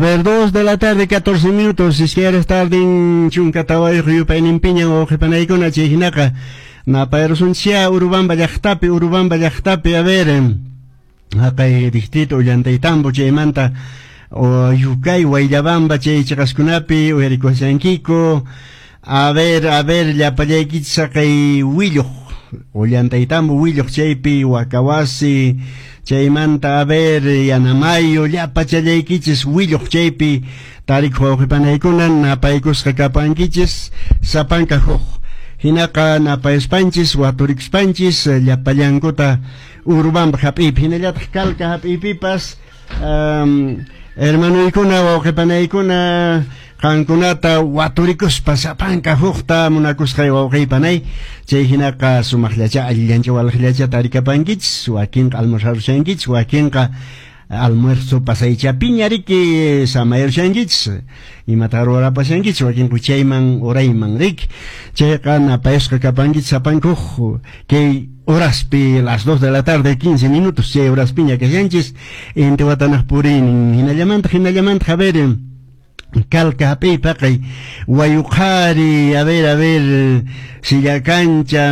ver, 2 de la tarde, 14 minutos, iskay tardin chunka tawayuq yupayninpiñan wawqipanaykuna chay hinaqa napayrusunchikya Urubamba llaqtapi, Urubamba llaqtapi, a ver, haqay distrito Ollantaytambo chaymanta o Yucay, Wayllabamba chay chiqaskunapi uyarikushankiku. A ver, llapallaykichis haqay willuq Ollantaytambo willuq chaypi Wakawasi chaymanta, a ver, Yanamayo llapachallaykichis willuq chaypi tarikuq wawqipanaykuna napaykusqa kapankichis sapanka huk hinaqa napayuspanchis waturikuspanchis llapallankuta Urubamba hap'iypi hinallataq Calca hap'iypipas hermanoykuna wawqipanaykuna qankunata waturikuspa sapanka hukta munakusqay wawqiypanay chay hinaqa sumaqllacha allillancha walaqllacha tarikapankichis wakinqa almorzarushankichis wakinqa almuerzo pasaychapiña riki samayarushankichis imata ruwarapashankichis wakinqa chayman urayman riki chayqa napayasqa kapankichis sapanka huk kay horaspi las 2 de la tarde 15 minutos chay horaspiña kashanchis inti watanaq puriynin hinallamanta hinallamanta a ver Calca hap'iy paqay Wayuqhari a ver Sillacancha.